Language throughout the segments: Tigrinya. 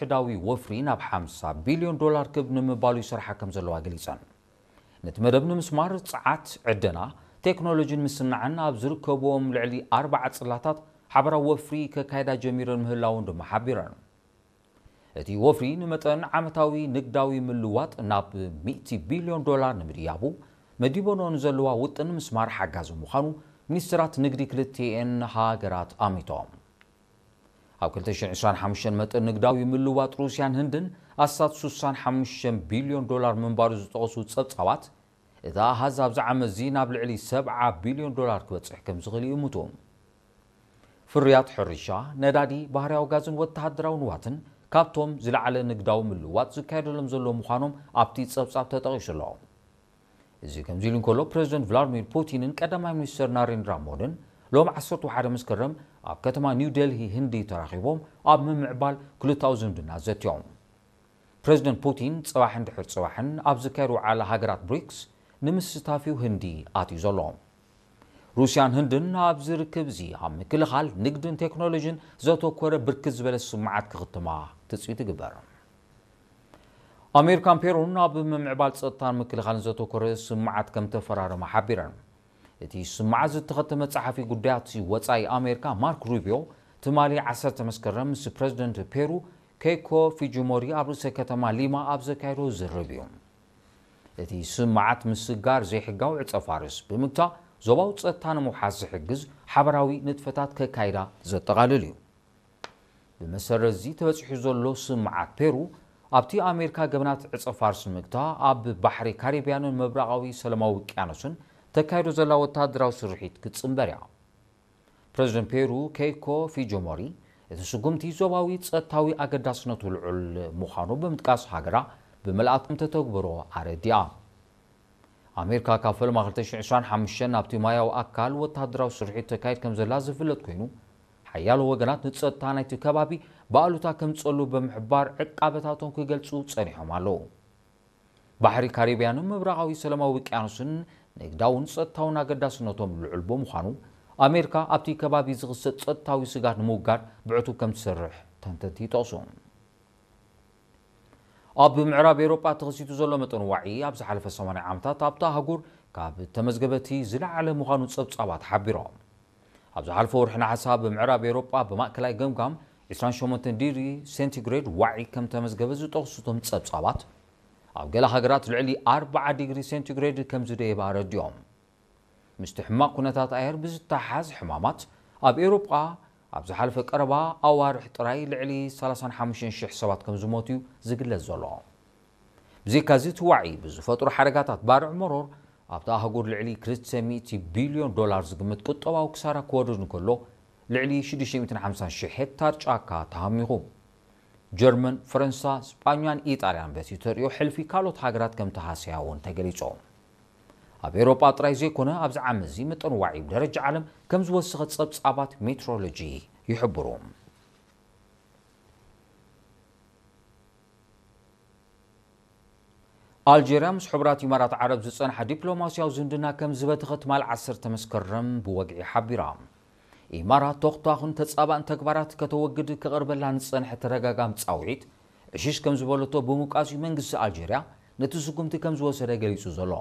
ሕዳዊ ወፍሪ ናብ ሓምሳ ቢልዮን ዶላር ክብ ንምባሉ ይሰርሓ ከም ዘለዋ ገሊጸን። ነቲ መደብ ንምስማር ጸዓት፣ ዕደና፣ ቴክኖሎጂን ምስናዕን ኣብ ዝርከብዎም ልዕሊ ኣርባዓ ጽላታት ሓበራዊ ወፍሪ ከካይዳ ጀሚረን ምህላውን ድማ ሓቢረን። እቲ ወፍሪ ንመጠን ዓመታዊ ንግዳዊ ምልዋጥ ናብ ሚእቲ ቢልዮን ዶላር ንምድያቡ መዲበኖ ንዘለዋ ውጥን ምስማር ሓጋዚ ምዃኑ ሚኒስትራት ንግዲ ክልቲኤን ሃገራት ኣሚቶም። ኣብ ክልተ ሽሕን ዕስራን ሓሙሽተን መጠን ንግዳዊ ምልዋጥ ሩስያን ህንድን ኣስታት ስሳን ሓሙሽተን ቢልዮን ዶላር ምንባሩ ዝጠቐሱ ጸብጻባት፣ እቲ ኣሃዝ ኣብዚ ዓመት እዚ ናብ ልዕሊ ሰብዓ ቢልዮን ዶላር ክበጽሕ ከም ዝኽእል ይእምቱ። ፍርያት ሕርሻ፣ ነዳዲ፣ ባህርያዊ ጋዝን ወተሃደራዊ ንዋትን ካብቶም ዝለዓለ ንግዳዊ ምልዋጥ ዝካየደሎም ዘሎ ምዃኖም ኣብቲ ጸብጻብ ተጠቒሱ ኣሎ። እዚ ከምዚ ኢሉ እንከሎ፣ ፕረዚደንት ቭላድሚር ፑቲንን ቀዳማይ ሚኒስትር ናሬንድራ ሞድን ሎም ዓሰርተ ሓደ መስከረም ኣብ ከተማ ኒው ዴልሂ ህንዲ ተራኺቦም ኣብ ምምዕባል ክልታዊ ዝምድና ዘትዮም። ፕረዚደንት ፑቲን ጽባሕ እንድሕር ጽባሕን ኣብ ዝካየድ ወዓላ ሃገራት ብሪክስ ንምስታፍዩ ህንዲ ኣትዩ ዘሎ። ሩስያን ህንድን ኣብዚ ርክብ እዚ ኣብ ምክልኻል፣ ንግድን ቴክኖሎጂን ዘተኮረ ብርክት ዝበለ ስምዓት ክኽትማ ትጽቢት ይግበር። ኣሜሪካን ፔሩን ኣብ ምምዕባል ጸጥታን ምክልኻልን ዘተኮረ ስምዓት ከም ተፈራረማ ሓቢረን። እቲ ስምዓት ዝተኸተመ ጸሓፊ ጉዳያት ወጻኢ ኣሜሪካ ማርክ ሩቢዮ ትማሊ ዓሰርተ መስከረም ምስ ፕረዚደንት ፔሩ ኬይኮ ፊጂሞሪ ኣብ ርእሰ ከተማ ሊማ ኣብ ዘካየዶ ዝርርብ እዩ። እቲ ስምዓት ምስጋር ዘይሕጋዊ ዕጸ ፋርስ ብምግታእ ዞባዊ ጸጥታ ንምውሓስ ዝሕግዝ ሓበራዊ ንጥፈታት ከካይዳ ዘጠቓልል እዩ። ብመሰረት እዚ ተበጺሑ ዘሎ ስምዓት ፔሩ ኣብቲ ኣሜሪካ ገበናት ዕጸ ፋርስ ንምግታእ ኣብ ባሕሪ ካሪብያንን ምብራቓዊ ሰላማዊ ውቅያኖስን ተካይዶ ዘላ ወተሃደራዊ ስርሒት ክትጽንበር እያ። ፕረዚደንት ፔሩ ኬይኮ ፊጆሞሪ እቲ ስጉምቲ ዞባዊ ጸጥታዊ ኣገዳስነቱ ልዑል ምዃኑ ብምጥቃስ ሃገራ ብመልኣት ከም ተተግብሮ ኣረዲኣ። ኣሜሪካ ካብ ፈልማ ክልተ ሽሕን ዕስራን ሓሙሽተን ናብቲ ማያዊ ኣካል ወተሃደራዊ ስርሒት ተካይድ ከም ዘላ ዝፍለጥ ኮይኑ፣ ሓያሎ ወገናት ንጸጥታ ናይቲ ከባቢ ብኣሉታ ከም ዝጸሉ ብምሕባር ዕቃበታቶም ክገልጹ ጸኒሖም ኣለዉ። ባሕሪ ካሪብያንን ምብራቓዊ ሰላማዊ ውቅያኖስን ንግዳውን ጸጥታውን ኣገዳስነቶም ልዑል ብምዃኑ፣ ኣሜሪካ ኣብቲ ከባቢ ዝኽሰት ጸጥታዊ ስጋት ንምውጋድ ብዕቱብ ከም ትሰርሕ ተንተንቲ ይጠቕሱ። ኣብ ምዕራብ ኤውሮጳ ተኸሲቱ ዘሎ መጠን ዋዒ ኣብ ዝሓለፈ ሰማንያ ዓመታት ኣብታ ኣህጉር ካብ ተመዝገበቲ ዝለዓለ ምዃኑ ጸብጻባት ሓቢሮም። ኣብ ዝሓለፈ ወርሒ ነሓሰ ኣብ ምዕራብ ኤውሮጳ ብማእከላይ ገምጋም ዕስራን ሸሞንተን ዲግሪ ሴንቲግሬድ ዋዒ ከም ተመዝገበ ዝጠቕሱ እቶም ጸብጻባት፣ ኣብ ገለ ሃገራት ልዕሊ ኣርብዓ ዲግሪ ሴንቲግሬድ ከም ዝደየበ ኣረዲኦም። ምስቲ ሕማቕ ኩነታት ኣየር ብዝተሓሓዝ ሕማማት ኣብ ኤውሮጳ ኣብ ዝሓለፈ ቀረባ ኣዋርሕ ጥራይ ልዕሊ ሰላሳን ሓሙሽተን ሽሕ ሰባት ከም ዝሞቱ እዩ ዝግለጽ ዘሎ። ብዘይካዚ እቲ ዋዒ ብዝፈጥሮ ሓደጋታት ባርዕ መሮር ኣብታ ኣህጉር ልዕሊ ክልተ ሚእቲ ቢልዮን ዶላር ዝግመት ቁጠባዊ ክሳራ ክወርድ እንከሎ፣ ልዕሊ ሽዱሽተ ሚእትን ሓምሳን ሽሕ ሄክታር ጫካ ተሃሚኹ። ጀርመን፣ ፈረንሳ፣ ስጳኛን ኢጣልያን በቲ ተርእዮ ሕልፊ ካልኦት ሃገራት ከም ተሃሰያ እውን ተገሊጹ። ኣብ ኤውሮጳ ጥራይ ዘይኮነ ኣብዚ ዓመት እዚ መጠን ዋዒ ብደረጃ ዓለም ከም ዝወሰኸ ጸብጻባት ሜትሮሎጂ ይሕብሩ። ኣልጀርያ ምስ ሕቡራት ኢማራት ዓረብ ዝጸንሓ ዲፕሎማስያዊ ዝምድና ከም ዝበተኸ ትማል ዓሰርተ መስከረም ብወግዒ ሓቢራ። ኢማራት ተኹታኹን ተጻባእን ተግባራት ከተወግድ ክቐርበላ ንጸንሐ ተደጋጋሚ ጻውዒት ዕሽሽ ከም ዝበለቶ ብምውቃስ እዩ መንግስቲ ኣልጀርያ ነቲ ስጉምቲ ከም ዝወሰደ ገሊጹ ዘሎ።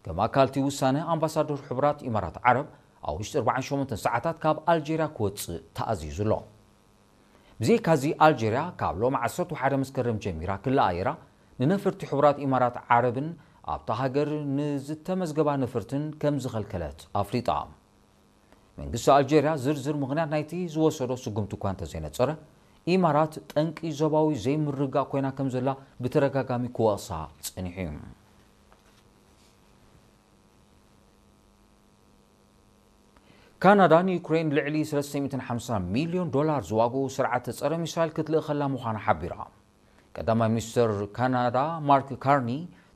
ከም ኣካል እቲ ውሳነ ኣምባሳደር ሕቡራት ኢማራት ዓረብ ኣብ ውሽጢ ኣርባዓን ሸሞንተን ሰዓታት ካብ ኣልጀርያ ክወጽእ ተኣዚዙ ኣሎ። ብዘይካዚ ኣልጀርያ ካብ ሎም ዓሰርተ ሓደ መስከረም ጀሚራ ክልኣየራ ንነፈርቲ ሕቡራት ኢማራት ዓረብን ኣብታ ሃገር ንዝተመዝገባ ነፈርትን ከም ዝኸልከለት ኣፍሊጣ። መንግስቲ ኣልጀርያ ዝርዝር ምኽንያት ናይቲ ዝወሰዶ ስጉምቲ እኳ እንተዘይነጸረ፣ ኢማራት ጠንቂ ዞባዊ ዘይምርግጋእ ኮይና ከም ዘላ ብተደጋጋሚ ክወቕሳ ጸኒሑ እዩ። ካናዳ ንዩክሬን ልዕሊ ሰለስተ ሚእትን ሓምሳን ሚልዮን ዶላር ዝዋግኡ ስርዓተ ጸረ ሚሳይል ክትልእኸላ ምዃና ሓቢራ። ቀዳማይ ሚኒስተር ካናዳ ማርክ ካርኒ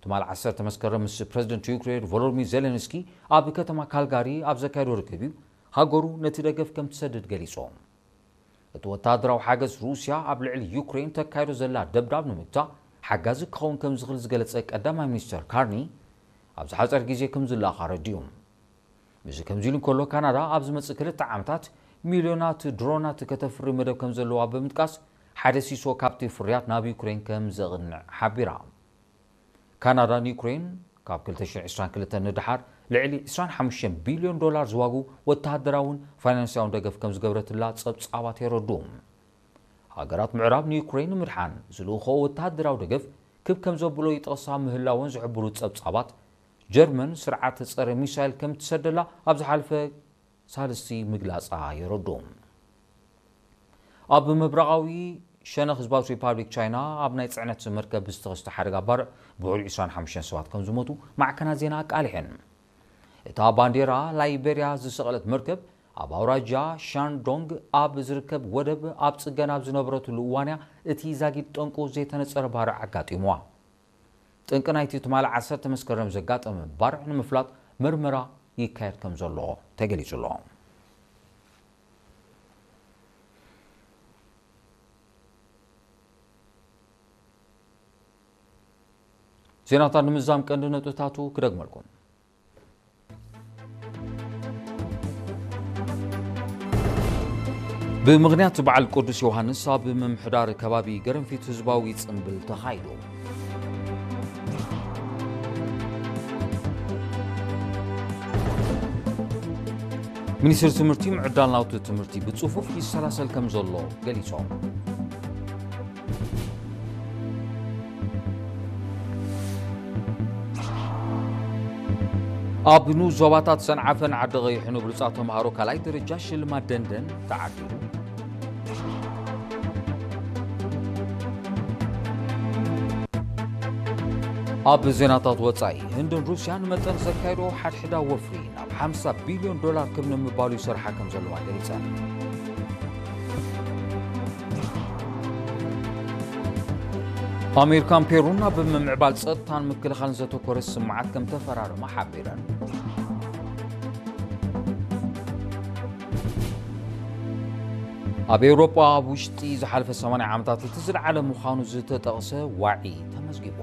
ትማል ዓሰርተ መስከረም ምስ ፕረዚደንት ዩክሬን ቮሎዲሚር ዜሌንስኪ ኣብ ከተማ ካልጋሪ ኣብ ዘካየዶ ርክብ እዩ ሃገሩ ነቲ ደገፍ ከም ትሰድድ ገሊጹ። እቲ ወተሃደራዊ ሓገዝ ሩስያ ኣብ ልዕሊ ዩክሬን ተካይዶ ዘላ ደብዳብ ንምግታእ ሓጋዚ ክኸውን ከም ዝኽእል ዝገለጸ ቀዳማይ ሚኒስተር ካርኒ፣ ኣብ ዝሓጸረ ግዜ ከም ዝለኣኽ ኣረዲኡ። እዚ ከምዚ ኢሉ እንከሎ፣ ካናዳ ኣብ ዝመጽእ ክልተ ዓመታት ሚልዮናት ድሮናት ከተፍሪ መደብ ከም ዘለዋ ብምጥቃስ፣ ሓደ ሲሶ ካብቲ ፍርያት ናብ ዩክሬን ከም ዘቕንዕ ሓቢራ። ካናዳ ንዩክሬን ካብ ክልተ ሽሕን ዕስራን ክልተን ንደሓር ልዕሊ ዕስራን ሓሙሽተን ቢልዮን ዶላር ዝዋጉ ወተሃደራውን ፋይናንሳውን ደገፍ ከም ዝገብረትላ ጸብጻባት የረድኡ። ሃገራት ምዕራብ ንዩክሬን ንምድሓን ዝልእኽኦ ወተሃደራዊ ደገፍ ክብ ከም ዘብሎ ይጠቕሳ ምህላወን ዝሕብሩ ጸብጻባት፣ ጀርመን ስርዓት ጸረ ሚሳይል ከም ትሰደላ ኣብ ዝሓለፈ ሳልስቲ ምግላጻ የረድኡ። ኣብ ምብራቓዊ ሸነኽ ህዝባዊት ሪፓብሊክ ቻይና ኣብ ናይ ጽዕነት መርከብ ብዝተኸስተ ሓደጋ ባርዕ ብውዕሊ ዕስራን ሓሙሽተን ሰባት ከም ዝሞቱ ማዕከናት ዜና ኣቃሊሐን። እታ ባንዴራ ላይቤርያ ዝሰቐለት መርከብ ኣብ ኣውራጃ ሻንዶንግ ኣብ ዝርከብ ወደብ ኣብ ጽገና ኣብ ዝነበረትሉ እዋንያ እቲ ዛጊድ ጠንቁ ዘይተነጸረ ባርዕ ኣጋጢምዋ። ጠንቂ ናይቲ ትማሊ ዓሰርተ መስከረም ዘጋጠመ ባርዕ ንምፍላጥ መርመራ ይካየድ ከም ዘሎ ተገሊጹ ኣሎ። ዜናታት ንምዛም ቀንዲ ነጥብታቱ ክደግመልኩም። ብምኽንያት በዓል ቅዱስ ዮሃንስ ኣብ ምምሕዳር ከባቢ ገረንፊት ህዝባዊ ጽምብል ተኻይዱ። ሚኒስትሪ ትምህርቲ ምዕዳል ናውቲ ትምህርቲ ብጽፉፍ ይሰላሰል ከም ዘሎ ገሊጾም። ኣብ ንኡስ ዞባታት ሰንዓፈን ዓዲ ቐይሕን ብሉጻት ተምሃሮ ካልኣይ ደረጃ ሽልማት ደንደን ተዓዲሉ። ኣብ ዜናታት ወጻኢ፣ ህንድን ሩስያን መጠን ዘካየዶ ሓድሕዳ ወፍሪ ናብ ሓምሳ ቢልዮን ዶላር ክብ ንምባሉ ይሰርሓ ከም ዘለዋ ገሊጸን። ኣሜሪካን ፔሩን ኣብ ምምዕባል ጸጥታን ምክልኻልን ዘተኮረ ስምምዓት ከም ተፈራረማ ሓቢረን። ኣብ ኤውሮጳ ኣብ ውሽጢ ዝሓለፈ ሰማንያ ዓመታት እቲ ዝለዓለ ምዃኑ ዝተጠቕሰ ዋዒ ተመዝጊቡ።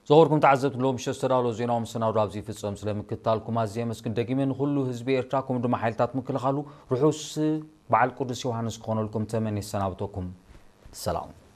ዝኸበርኩም ተዓዘብቲ፣ ሎሚ ምሸት ዝተዳለወ ዜናዊ መሰናዶ ኣብዚ ይፍጸም። ስለ ምክትታልኩም ኣዝየ የመስግን። ደጊመ ንኹሉ ህዝቢ ኤርትራ፣ ከምኡ ድማ ሓይልታት ምክልኻሉ ርሑስ በዓል ቅዱስ ዮሃንስ ክኾነልኩም ተመንየ እሰናብተኩም። ሰላም።